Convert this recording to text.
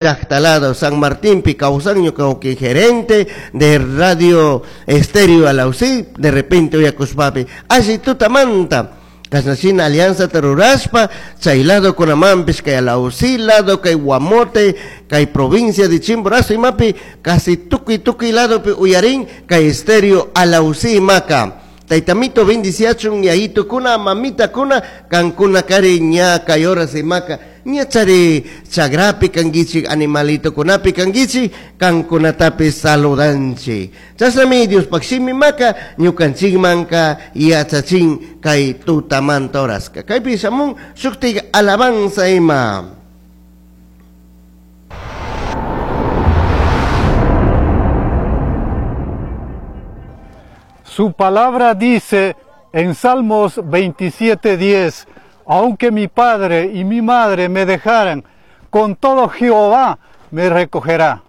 Llajta lado San Martinpi kawsan ñuka wawki gerente de Radio Estéreo Alausí, de repente uyakushpapi alli tutamanta kashnashina alianzata rurashpa chay lado kunamanpish kay Alausí lado kay Guamote kay provincia de Chimborazo imapi casi tukuy tukuy ladopi uyarin kay Estéreo Alausí imaka. Taytamito bendiciachun yayitukuna mamitakuna kankuna kari ña kay horas imaka ña chari chagrapi kankichik animalitokunapi kankichik kankunatapish saludanchik. Chashnami Diospaj shimi maka ñukanchikmanka yachachin kay tutamanta horaska. Kaypi shamun shuktik alabanza ima. Su palabra dice en Salmos 27:10, aunque mi padre y mi madre me dejaran, con todo Jehová me recogerá.